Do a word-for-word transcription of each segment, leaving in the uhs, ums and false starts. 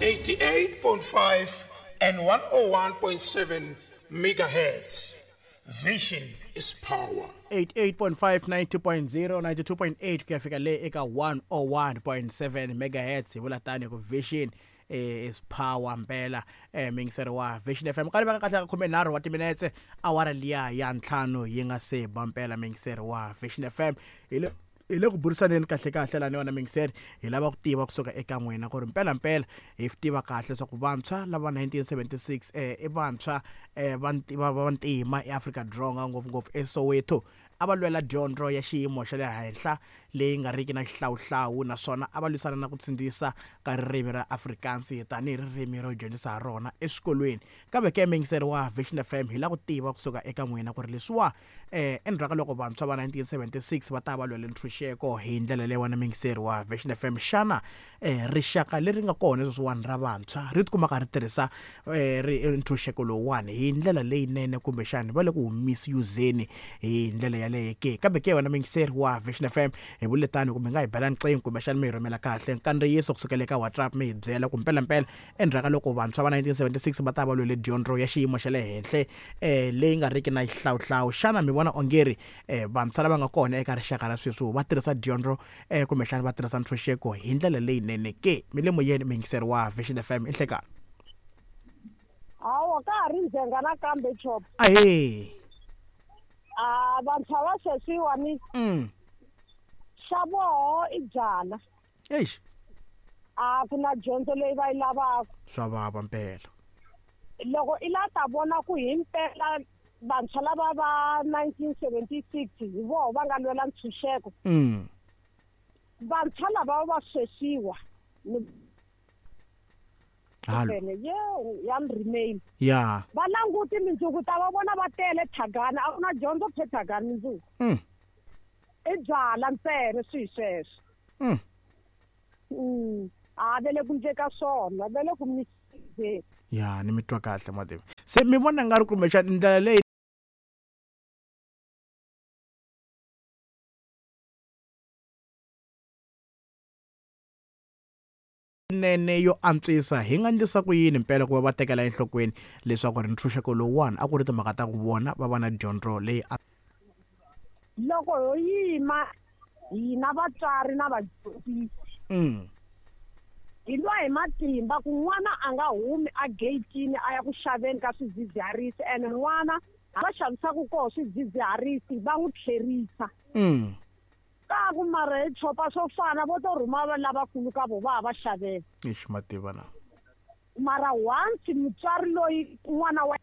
eighty-eight point five and one oh one point seven megahertz. Vision is power. eighty-eight point five, ninety point zero, ninety-two point eight ku ya fika le eka one oh one point seven megahertz. Hi vula tani ku Vision is power mpela eh mingiseri wa Vision F M. Ka ri kahle ka khume nharhu wa timinetse awara liya ya ntlhanu yi nga se ba mpela mingiseri wa Vision F M. Hi le hi le ku burisaneni kahle kahle lani wena mingiseri, hi lava ku tiva kusuka eka n'wina ku ri mpela mpela hi tiva kahle leswaku vantshwa lava nineteen seventy-six eh i vantshwa eh va va ntima eAfrika Dzonga ngopfungopfu eSoweto a va lwela dyondzo ya xiyimo xa le henhla leyi nga riki na xihlawuhlawu, naswona a va lwisana na ku tsindzisa ka ririmi ra Afrikaans tanihi ririmi ro dyondzisa ha rona eswikolweni. Kambe ke mingiseri wa Vision F M hi lava ku tiva kusuka eka n'wina ku ri leswiwa eh endzhaku ka loko vantshwa va nineteen seventy-six va ta va lwela ntshunxeko hi ndlela leyi wena mingiseri wa Vision F M, xana eh rixaka leri nga kona sweswiwani ra vantshwa ri tikumaka ri tirhisa eh ntshunxeko lowuwani hi ndlela leyinene kumbexani va le ku misuse-ni hi ndlela yaleyo ke? Kambe ke wena mingiseri wa Vision F M hi vule tani kumbe nga hi bela nqingho kumbexani mi hi rhumela kahle nkandziyiso kusukela eka WhatsApp mi hi byela ku mpela mpela endzhaku ka loko vantshwa va nineteen seventy-six va ta va lwele dyondzo ya xiyimo xa le henhla eh leyi nga riki na xihlawuhlawu, xana mi vona ongeri eh vantshwa lava nga kona eka rixaka ra sweswi va tirhisa dyondzo eh kumbexani va tirhisa ntshunxeko hi ndlela leyinene ke? Mi le moyeni mingiseri wa Vision F M, i nhlekani. Hawa ka ha ri ndzhenga nakambe chop. Ahee. A vantshwa va sweswiwani mm xa voho i byala. Eish. A ku na dyondzo leyi va yi lavaka. Swa vava mpela. Loko i la ta vona ku hi mpela vantshwa lava va nineteen seventy-six hi voho va nga lwela ntshunxeko. Mm. Vantshwa lava va sweswiwa Halo. Ye ya remain. Ya. Va languti mindzuku ta va vona va tele thagana, a ku na dyondzo phe thagana mindzuku. Mm. I byala ntsena swi sweswo. Mm. Mm. A vele ku ndleka swona, vele ku misuse. Ya, ni mi twa kahle mativi. Se mi vona nga ri kumbexana ndlela leyi nene yo antswisa hi nga endlisa ku yini mpela ku va va tekela enhlokweni leswaku ri ntshunxeko lowuwani a ku ri timhaka ta ku vona va va na dyondzo leyi loko ho yima hina vatswari na vadyondzisi mm. hi lwa hi matimba ku n'wana a nga humi a gate-ini a ya ku xaveni ka swidzidziharisi, ene n'wana va xavisaka koho swidzidziharisi va n'wi tlherisa. Mm. Ka ku mara hi chopa swo fana vo to rhuma va lavakulu ka vo va ha va xavela. Eish mativa na. Mara once mutswari loyi n'wana wa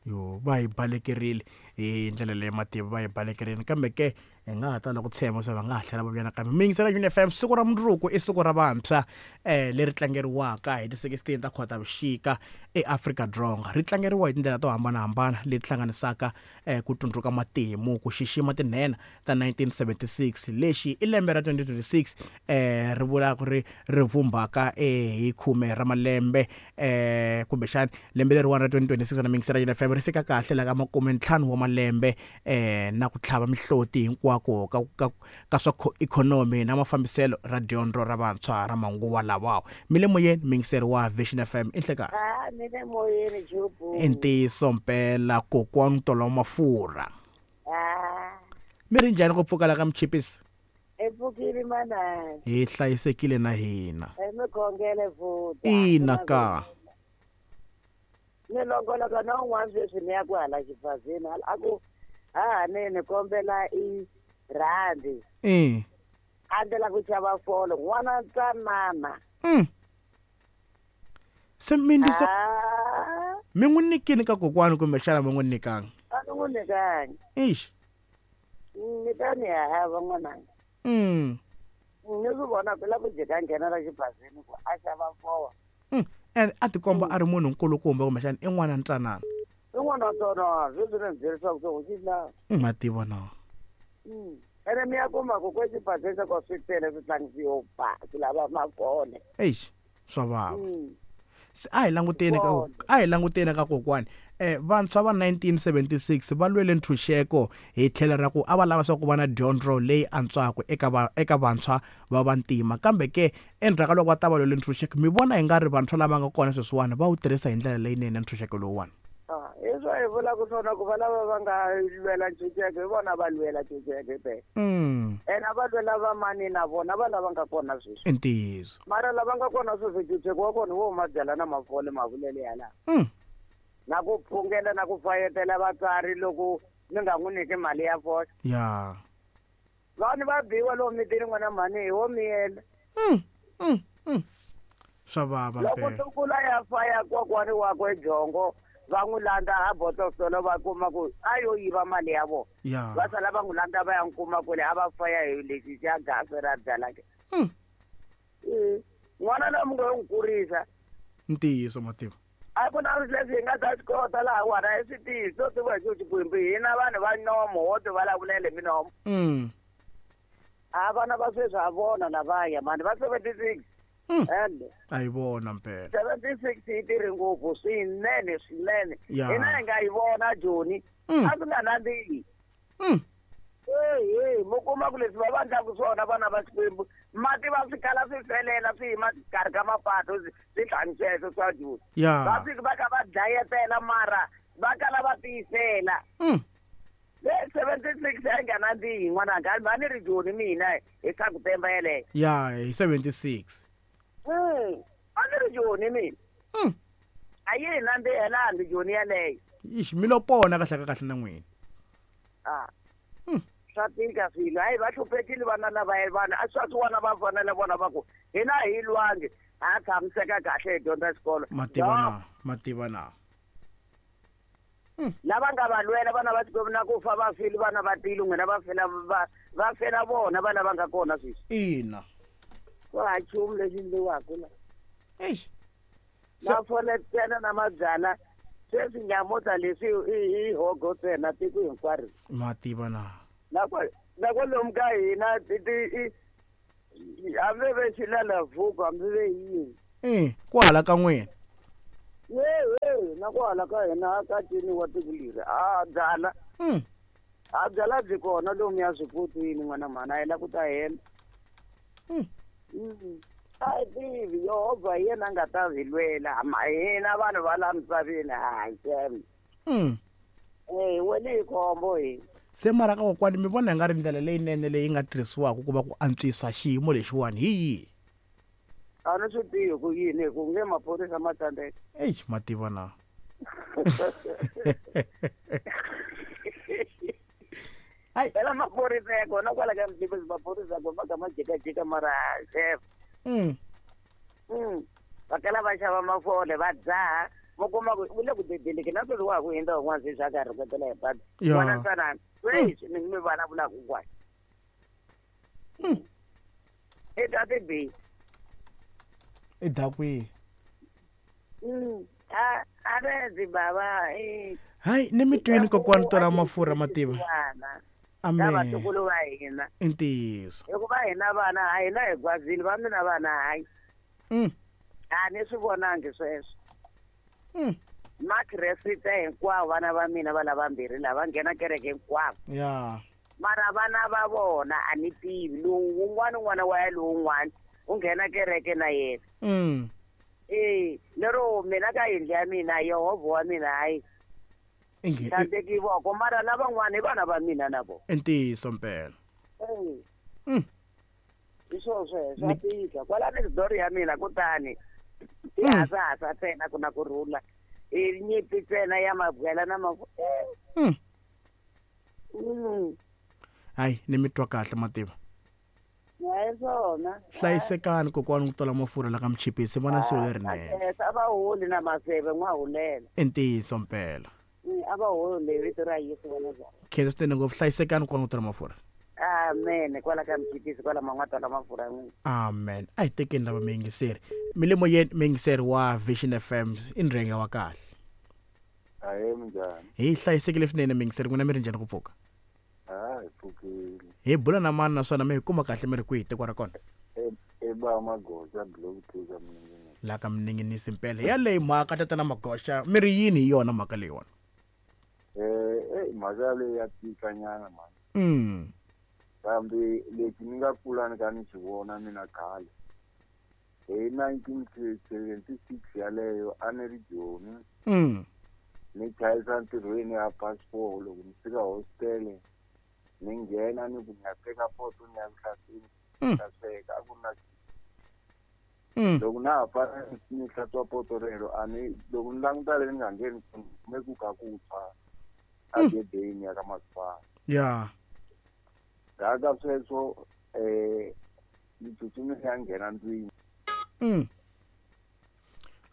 yo va hi balekerile hi ndlela leyi mativa va hi balekerile, kambe ke hi nga ha tala ku tshemba swa va nga ha tlhela va vuya nakambe. Mingisela Vision F M, siku ra mundzuku i siku ra vantshwa eh leri tlangeriwaka hi ti sixteen ta Khotavuxika eAfrika Dzonga. Ri tlangeriwa hi tindlela to hambanahambana leti hlanganisaka eh ku tsundzuka matimu, ku xixima tinhenha ta nineteen seventy-six. Lexi i lembe ra twenty twenty-six eh ri vula ku ri ri vumbaka eh hi khume ra malembe eh kumbexani lembe leriwani ra twenty twenty-six na mingisela Vision F M ri fika kahle la ka makume ntlhanu wa malembe eh na ku tlhava mihloti hinkwako ka ka ka swa ikhonomi na mafambiselo ra dyondzo ra vantshwa ra manguva lawa. Mi le moyeni mingiseri wa Vision F M, i nhlekani. Ah, mi le moyeni Jobu. I ntiyiso mpela kokwani Tolo Mafurha. Ah. Mi ri njhani ku pfuka la ka Mchipisi? E pfukile manana. Hi hlayisekile na hina. E mi khongele futhi. Ina ka. Ni longoloka na un'wana sweswi ni ya ku hala xibazini a ku ha ni ni kombela i rhandi. Eh. A ndlela ku xava folo n'wana ntsanana. Mm. Se mi ndisa mi n'wi nyikini ka kokwani kumbexana mi n'wi nyikanga? A ni n'wi nyikangi. Eish. Ni ta ni hava n'wananga. Mm. Ni swi vona ku la ku jika nghena la xibazini ku a xava folo. Mm. And a tikomba a ri munhu nkulukumba kumbexana i n'wana ntsanana. I n'wana ntsanana, sweswi ni byerisa ku swi la. Ma tiva na. Mm. Ene mi ya kuma ku ko xibazini xa ko swi tele swi tlangisiwa ba swi lava mafole. Eish, swa vava. Se a hi languteni ka a hi languteni ka kokwani. Eh vantshwa va nineteen seventy-six va lwele ntshunxeko hi tlhelo ra ku a va lava swa ku va na dyondzo leyi antswaka eka va eka vantshwa va vantima. Kambe ke endzhaku ka loko va ta va lwele ntshunxeko, mi vona hi nga ri vantshwa lava nga kona sweswiwani va wu tirhisa hi ndlela leyinene ntshunxeko lowuwani? Hi swo hi vulaka swona ku va lava va nga lwela ntshunxeko hi vona va lwela ntshunxeko phela. Ene a va lwela va mani na vona va lava nga kona sweswi. I ntiyiso. Mara lava nga kona sweswi ntshunxeko wa kona wo huma byala na mafole mavulele yalawa. Na ku phungela na ku fayetela vatswari loko mi nga n'wi nyiki mali ya fole. Ya. Vanhu va biwa lomu mitini n'wana mhani hi wo miyela. Swa vava loko mpela. Tukula ya faya kokwani wakwe byongo va n'wi landza a botosolo va kuma ku a yo yiva mali ya vona. Ya. Va sala va n'wi landza va ya n'wi kuma kule a va faya hi lexi xa gasi ra byala ke. N'wana loyi mi nga n'wi kurisa. Ntiyiso mativa. A ku na leswi hi nga ta swi kota laha wona i swi tiyiso tiva hi xo Xikwembu hina vanhu va nomo wo ti vulavulela hi minomo. A vana va sweswi ha vona lavaya mani va seventy-six. And a yi vona mpela. seventy-six yi tirhe ngopfu swinene swinene. Hina hi nga yi vona Joni a swi nga nandzihi. Hey, mi kuma ku leswi va va endlaka swona vana va Xikwembu mati va swi kala swi felela swi yima xikarhi ka mapato swi tlhani sweswo swa Joni. Va fika va kha va dlayetela mara va kala va tiyisela. Le seventy-six a yi nga nandzihi n'wananga a ni ri Joni mina hi swa ku temba yeleyo. Ya hi seventy-six. A ni ri Joni mina. A yi hi nandzihelangi Joni yeleyo. Ixi mi lo pona kahle ka kahle na n'wina. A swa tika swilo hayi va hluphekile vana lava vana a swa swi vona va fanele vona va ku hina hi lwangi ha tshamiseka kahle hi dyondza xikolo. Mativa na mativa na. Lava nga va lwela vana va Xikwembu na ku fa va file vana va tile n'wina va fela va va fela vona va lava nga kona sweswi. Ina. Ku ha nchumu lexi endliwaka la. Eish. Mafole ntsena na mabyala sweswi nyamutlha leswi i hogo ntsena tiko hinkwaro. Mativa na. Na kwa na kwalomu ka hina hambi ve xilalavuko hambi ve yini. Eh, kwala ka n'wina. Ye na kwala ka hina ka ciniwa tiko leri a byala. A byala byi kona lomu ya swipotweni n'wana mhani a yi la ku ta hela. A hi tivi Yehovha hi yena a nga ta hi lwela hina vanhu va laha misaveni a hi tshembi. Eh wena hi khombo hi. Se mara ka kokwani mi vona hi nga ri ndlela leyinene leyi nga tirhisiwaka ku va ku antswisa xiyimo lexiwani hi yihi? A ni swi tivi ku yini hi ku nge maphorisa ma tsandzeka. Eish mativa na. Ai phela maphorisa ya kona kwala ka Mtibisi maphorisa ko va ka ma jikajika mara chef. Mm. Mm. Va kala va xava mafole va dzaha mi kuma ku u le ku dedeleke na sweswi wa ha ku hundza un'wana sweswi a ka rhuketela hi patu. N'wana ntsanana sweswi ni mi vulavulaka hinkwayo. I ta ti I da kwihi? A a redzi bava i Hayi ni mi twini kokwani tola mafurha mativa. Amen. Vatukulu va hina. I ntiyiso. Hikuva hina vana a hina hi gwazini va mina vana hayi. A ni swi vonangi sweswo. Makreste hinkwavo vana va mina va lavambirhi lava nghena kereke hinkwavo. Ya. Mara vana va vona a ni tivi lowu wun'wana n'wana wa ya lowun'wana u nghena kereke na yena. Mm. Eh, lero mina ka yindlu ya mina Yehovha wa mina hayi. Inge Tsandzeki voko mara lavan'wana i vana va mina na vona. I ntiyiso mpela. Mm. Hi swo sweswo swa tika kwala next door ya mina kutani i hasahasa ntsena ku na ku rhula i nyimpi ntsena ya mabyala na mafu. Mm. Mm. Hayi ni mi twa kahle mativa. Hayi swona. Hlayisekani kokwani ku tola mafurha la ka Mchipisi vona siku lerinene. A va holi na maseve n'wa hulela. I ntiyiso mpela. A va holi vito ra Yesu vona bya. Khensa swinene ngopfu hlayisekani kokwani ku tola mafurha. Amen kwala ka Mchipisi kwala man'wata la mafurha n'wina. Amen. A hi tekeni lava miyingiseri. Milimo yeni miyingiseri wa Vision F M i ndrenga wa kahle. Ahe minjhani? Hi hlayisekile swinene miyingiseri n'wina mi ri njhani ku pfuka? Ah, hi pfukile. Hi bula na mani naswona mi hi kuma kahle mi ri kwihi tiko ra kona? E ba magoza block two ka mina. Laha ka Mininginisi mpela yaleyi mhaka tatana Magoxa mi ri yini hi yona mhaka leyiwani? Eh eh mhaka leyi ya tika nyana mani. Mm. Kambe lexi ni nga kula ni ka ni xi vona mina khale hi nineteen seventy-six yaleyo a ni ri Joni. Mm. Ni chayisa ntirhweni ya passport loko ni fika hostel ni nghena ni ku ni ya teka poto ni ya ku hlantsweni Mm. ta sweka a ku ri na Mm. loko na ha fana ni hlantswa poto rero a ni loko ni languta le ni nga ngheni kume ku ka ku tshwa a gedeni ya ka masipala. Ya. Ndzhaku ka sweswo eh ni tsutsumile ya nghena ndlwini. Mm.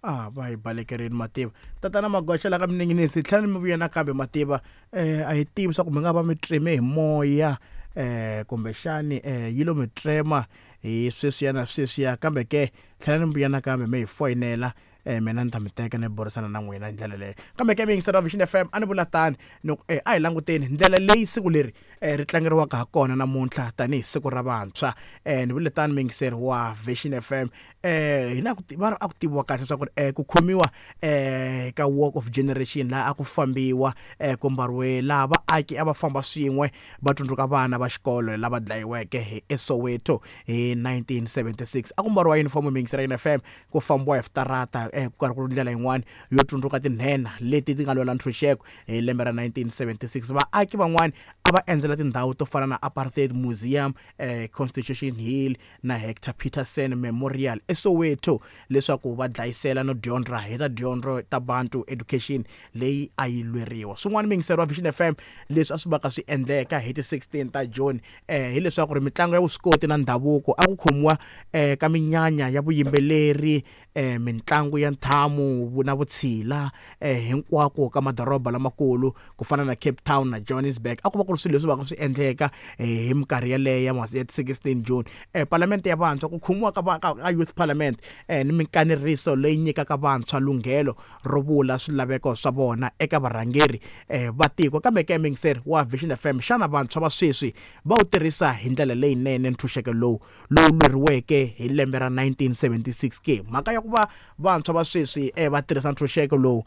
Ah, va hi balekerini mativa. Tatana Magoxa laha ka Mininginisi tlhela ni mi vuya nakambe mativa. Eh a hi tivi swa ku mi nga va mi treme hi moya eh kumbexani eh yi lo mi trema hi sweswiya na sweswiya, kambe ke tlhela ni mi vuya nakambe mi hi foyinela eh mina ni ta mi teka ni burisana na n'wina hi ndlela leyo. Kambe ke miyingiseri wa Vision F M a ni vula tani ni ku eh a hi languteni ndlela leyi siku leri eh ri tlangeriwaka ha kona namuntlha tanihi siku ra vantshwa. Eh ni vule tani miyingiseri wa Vision F M eh hina ku va ri a ku tiviwa kahle leswaku eh ku khomiwa eh ka Walk of Generation laha a ku fambiwa eh ku mbariwe laha vaaki a va famba swin'we va tsundzuka vana va xikolo lava dlayiweke hi eSoweto hi nineteen seventy-six. A ku mbariwa uniform miyingiseri ya F M ku fambiwa hi switarata eh ku karhi ku ri ndlela yin'wani yo tsundzuka tinhenha leti ti nga lwela ntshunxeko hi lembe ra nineteen seventy-six. Vaaki van'wani a va endzela tindhawu to fana na Apartheid Museum, eh Constitution Hill na Hector Peterson Memorial eSoweto leswaku va dlayisela no dyondza hi ta dyondzo ta Bantu Education leyi a yi lweriwa. Swin'wana miyingiseri wa Vision F M leswi a swi vaka swi endleka hi ti sixteen ta June eh hileswaku ri mitlangu ya vuswikoti na ndhavuko a ku khomiwa eh ka minyanya ya vuyimbeleri eh mitlangu ya ntlhamu na vutshila eh hinkwako ka madoroba lamakulu ku fana na Cape Town na Johannesburg. A ku va ku ri swilo leswi vaka swi endleka eh hi minkarhi yaleyo ya ya sixteen June. Eh Parliament ya vantshwa ku khomiwa ka ka Youth Parliament eh ni minkaneriso leyi nyikaka vantshwa lunghelo ro vula swilaveko swa vona eka varhangeri eh va tiko. Kambe ke miyingiseri wa Vision F M, xana vantshwa va sweswi va wu tirhisa hi ndlela leyinene ntshunxeko lowu lowu lweriweke hi lembe ra nineteen seventy-six ke? Mhaka ya ku va vantshwa va sweswi eh va tirhisa ntshunxeko lowu